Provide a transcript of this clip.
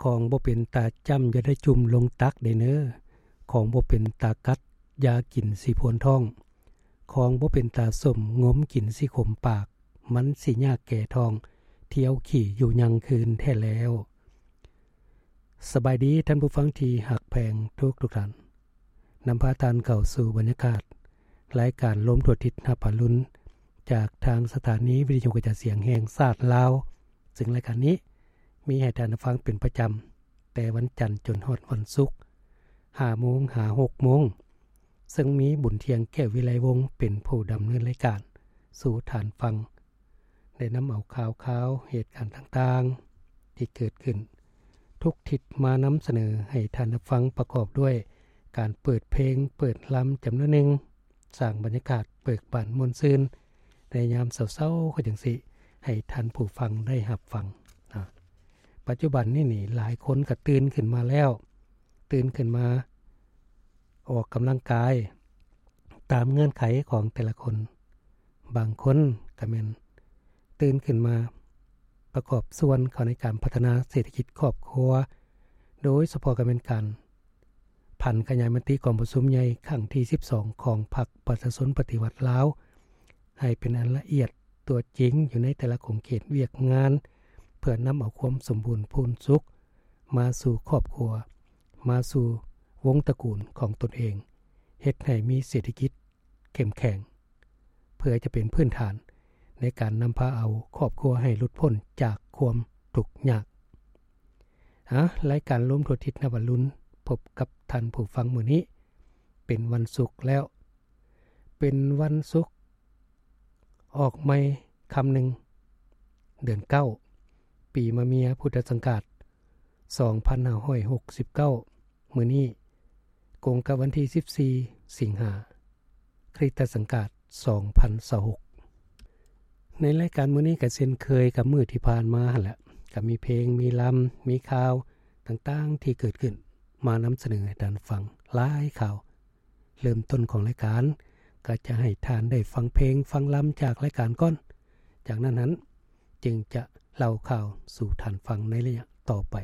ຂອງບໍ່ເປັນຕາຈ້ຳ ຢ່າໄດ້ຈຸ່ມລົງຕັກເດ້ເນີ. ຂອງບໍ່ເປັນຕາກັດ ຢ່າກິນຊິພວນທ້ອງ. ຂອງບໍ່ເປັນຕາສົ້ມ ງົມກິນຊິຂົມປາກ. ມັນຊິຍາກແກ່ທ້ອງ ທ່ຽວຂີ້ຢູ່ຍັງຄືນແທ້ແລ້ວ. ສະບາຍດີທ່ານຜູ້ຟັງທີ່ຮັກແພງທຸກໆທ່ານ. ນຳພາທ່ານເຂົ້າສູ່ບັນຍາກາດລາຍການລົມທົ່ວທິດຮັບອາລຸນ ຈາກທາງສະຖານີວິທະຍຸກະຈາຍສຽງແຫ່ງຊາດລາວ, ເຊິ່ງລາຍການນີ້ມີໃຫ້ທ່ານໄດ້ຟັງເປັນປະຈຳ ແຕ່ວັນຈັນຈົນຮອດວັນສຸກ ຫ້າໂມງຫາຫົກໂມງ, ເຊິ່ງມີບຸນທ່ຽງ ແກ້ວວິໄລວົງ ເປັນຜູ້ດຳເນີນລາຍການສູ່ທ່ານຟັງ. ໄດ້ນຳເອົາຂ່າວຄາວເຫດການຕ່າງໆທີ່ເກີດຂຶ້ນທຸກທິດມານຳສະເໜີໃຫ້ທ່ານໄດ້ຟັງ ປະກອບດ້ວຍການເປີດເພງ ເປີດລຳຈຳນວນໜຶ່ງ, ສ້າງບັນຍາກາດເບີກບານມ່ວນຊື່ນໃນຍາມເຊົ້າໆ ຄືຈັ່ງຊີ້ ໃຫ້ທ່ານຜູ້ຟັງໄດ້ຮັບຟັງນະ. ປັດຈຸບັນນີ້ນີ້ ຫຼາຍຄົນກໍຕື່ນຂຶ້ນມາແລ້ວ, ຕື່ນຂຶ້ນມາອອກກຳລັງກາຍຕາມເງື່ອນໄຂຂອງແຕ່ລະຄົນ. ບາງຄົນກໍແມ່ນຕື່ນຂຶ້ນມາປະກອບສ່ວນເຂົ້າໃນການພັດທະນາເສດຖະກິດຄອບຄົວ, ໂດຍສະເພາະກໍແມ່ນການຜັນຂະຫຍາຍມະຕິກອງປະຊຸມໃຫຍ່ຄັ້ງທີສິບສອງຂອງພັກປະຊາຊົນປະຕິວັດລາວ ໃຫ້ເປັນອັນລະອຽດຕົວຈິງຢູ່ໃນແຕ່ລະຂົງເຂດວຽກງານ, ເພື່ອນຳເອົາຄວາມສົມບູນພູນສຸກມາສູ່ຄອບຄົວ, ມາສູ່ວົງຕະກູນຂອງຕົນເອງ, ເຮັດໃຫ້ມີເສດຖະກິດເຂັ້ມແຂງ ເພື່ອຈະເປັນພື້ນຖານໃນການນຳພາເອົາຄອບຄົວໃຫ້ຫຼຸດພົ້ນຈາກຄວາມທຸກຍາກ. ອາ, ລາຍການລົມທົ່ວທິດນະວັນລຸນ ພົບກັບທ່ານຜູ້ຟັງມື້ນີ້ ເປັນວັນສຸກແລ້ວ, ເປັນວັນສຸກອອກໃໝ່ຄ່ຳໜຶ່ງ ເດືອນເກົ້າ ປີມະເມຍ ພຸດທະສັງກາດ ສອງພັນຫ້າຮ້ອຍຫົກສິບເກົ້າ. ມື້ນີ້ກົງກັບວັນທີສິບສີ່ ສິງຫາ ຄຣິສຕະສັງກາດ ສອງພັນຊາວຫົກ. ໃນລາຍການມື້ນີ້ກໍເຊັ່ນເຄີຍກັບມື້ທີ່ຜ່ານມາຫັ້ນແຫຼະ, ກໍມີເພງ, ມີລຳ, ມີຂ່າວຕ່າງໆທີ່ເກີດຂຶ້ນມານຳສະເໜີໃຫ້ທ່ານຟັງຫຼາຍຂ່າວ. ເລີ່ມຕົ້ນຂອງລາຍການກໍຈະໃຫ້ທ່ານໄດ້ຟັງເພງ, ຟັງລຳຈາກລາຍການກ່ອນ. ຈາກນັ້ນຫັ້ນຈຶ່ງຈະເລົ່າຂ່າວສູ່ທ່ານຟັງໃນໄລຍະຕໍ່ໄປ.